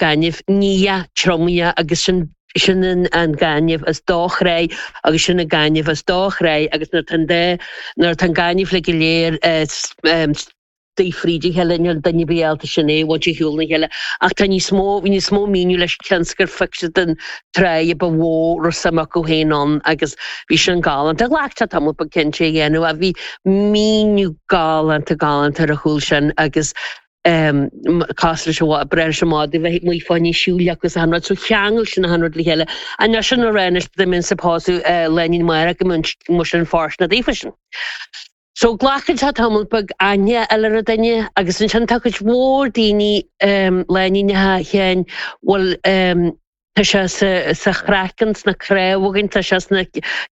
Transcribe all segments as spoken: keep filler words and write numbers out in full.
gaineamh nídhe triomaithe agus sin sin an, an gaineamh as do chré agus sin an gaineamh as do chré agus nuair tá de nuair tá an gaineamh le go léir um, dí fríd a chéile níl duine béalta sin é bhaint shiúl na chéile ach tá níos mó bhí níos mó míniú leis cionn is gur den tráth ba mhó ru suim acu féin ann agus bhí sin galánta ghlac sé tamall beag cinnte a dhéanamh a bhí míniú galánta galánta ar a chúl sin agus um, cás leis bre se má bheith mu fáinní siúil agus an rud so cheangail sin an rud le chéile an sin na réis de min sa pású lenin mar go mu sin fárs na daofa sin. So glacann sé tamall beag aithne eile ar duine agus ansin tá cuid mhór daoine um, leinínethe chéin bhfuil um, tá sé sa, sa chraiceann sna cnámha againn, tá sé sna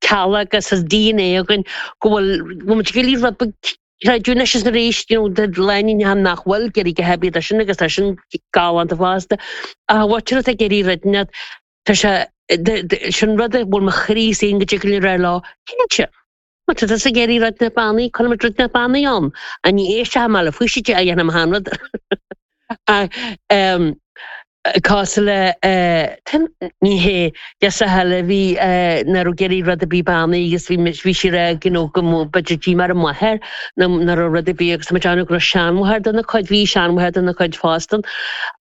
cealla agus sa DNA againn go bhfuil go bhfuil muid rud beag creidiúna is arís you know, de leinínethe nach bhfuil ag iarraidh go hebí sin agus tá sin galánta fosta a bhhair ag iarraidh rud tá sé sin rud a bhfuil mo chroí sin go dtig le lá cinnte. Ma tá sa géirí rud na bannaí chun rud na bannaí ann a ní éiste me le fuisi a dhéanam hanrad. Cás le ní hé yes a heile bhí na géirí rud a bí bannaí agus bhí bhí si rá you know, go b'fhéidir dí mar a máthair na rud a bí agus má go raibh seanmháthair dena cuid bhí seanmháthair dena cuid fostan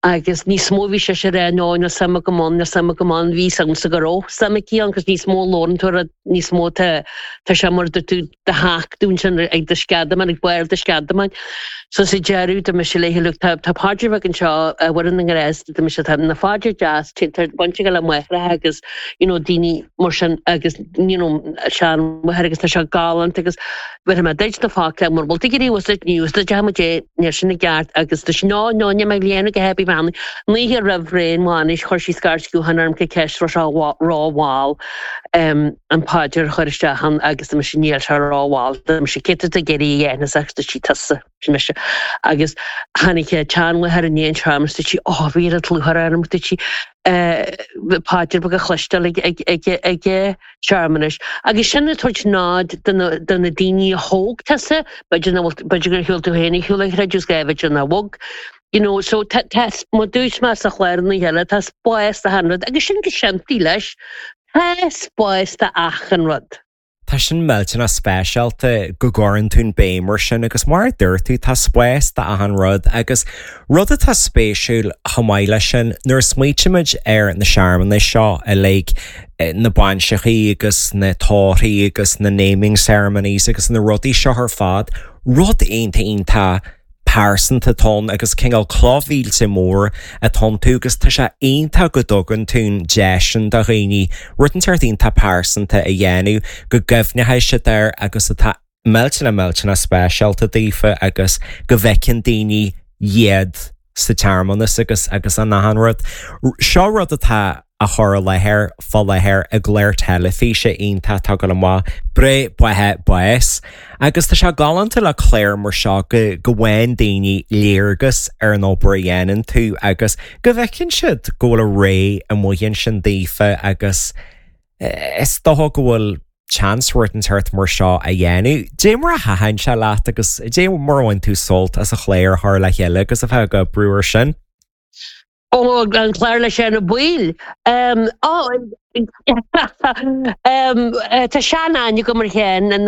agus níos mó bhí sé sé rá ná na suim go man na suim go man bhí sam sa go raibh suim aici agus níos mó lóran tú níos mó tá tá sé mar tú de haach dún sin ag de sceadaman ag bail de sceadaman. So sa deireadh de me sé léi tá tá paidir an seo bhar an ngrés de me tá na phaidir deas bainte le muithre agus you know, daoine mar sin agus you know, seanmháthair agus tá sé galánta agus bhí me duit na fáca mar bhfuil tú was news de jam dé ní sin na gceart agus tá ná ná me léana go happy man ní raibh réon bhainis chuir sí scairt gutháin orm go ceist ro ráháil um, an paidir chuir isteach agus me sin níl sé ráháil sé cé a géirí dhéana agus sí tusa sin mise agus tháinig seanmháthair an dhéon seamas sí á bhí a tlúthar arm sí paidir beag a chloisteáil ag ag ag searmanais. Agus sin tuairt nád de na daoine a thóg tusa, b'fhéidir gur shiúil tú féin shiúil chreidiús b'fhéidir na bhog. You know, so tá má dúirt me sa chléir na cheile tá spás do achan rud agus sin go simplí leis tá spás do achan rud. Tá sin millteanach speisialta go gcuireann tú an béim mar sin agus mar dúirt tú tá spás do achan rud agus rud atá spéisiúil chomh maith leis sin nuair smaoitímid ar na searmanais seo a like na bainseachaí agus na tórraimh agus na naming ceremonies agus na rudaí seo ar fad, rud iontach iontach pearsanta atá ann agus cineál clochmhílte mór atá tú agus tá sé iontach go dtugann tú an deis sin do dhaoine rud inteacht iontach pearsanta a dhéanamh go gcuimhneoidh siad air agus atá millteanach millteanach speisialta daofa agus go bhfeiceann daoine iad sa tsearmanas agus agus an achan rud. Seo rud atá a chur i láthair fá láthair i gclár teilifíse iontach atá go maith Breith Beatha Bás. Agus tá sé galánta le clár mar seo go go bhfaigheann daoine léargas ar an obair a dhéanann tú agus go bhfeiceann siad go bhfuil a ré amuigh ansin daofa agus is dócha go bhfuil chance rud inteacht mar seo a dhéanamh. Dé mar a thaitin sé leat agus dé mar bhain tú sult as an chlár thar le chéile agus a bheith ag obair air sin. Ó an clár le sé na buil. Um, um, Tá sean go mar chéan an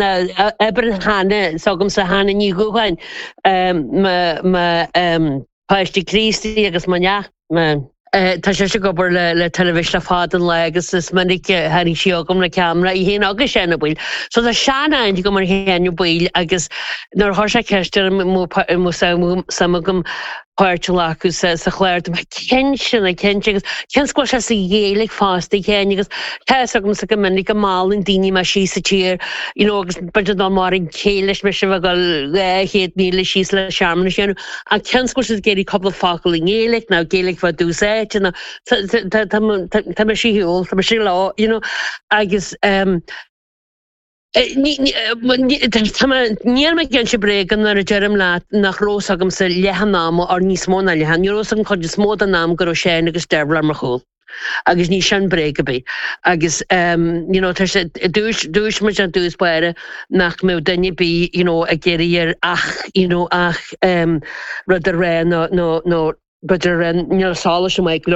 oibre hena agam sa hena ní gohain páiste Críostaí agus ma neach Tá sé ag obair le le teilifís le fada an lá agus is minic tháinig sí agam le ceamara í héin agus sé na buil. So tá sean go mar chéan buil agus nuair chuir sé ceist suim agam páirt a ghlacadh sa sa chlár mé cinnte na cinnte agus cén go sé sa Ghaeilge fosta chéin agus tá agam sa go minic go meallann daoine mar sí sa tír you know, agus b'fhéidir ná mar an chéile me se go chéad míle síos le searmanas dhéanamh a cén go sé géirí cúpla focal i nGaeilge ná Gaeilge fa dúsáid tá me siúil tá sí lá you know, agus um, Níl mé ag inse bréag nuair a deirim leat nach raibh agam sa leath an ama ar níos mó ná leath, ní raibh an chuid is mó den am go raibh sé agus Dervla ar mo chúl. agus ní sin bréag ar bith agus um, you know, dúis dúis mu an dús buire nach mbeadh duine ar bith you know, ag iarraidh ach you know, ach um, rud a rá nó nó nó b'fhéidir níl sála mé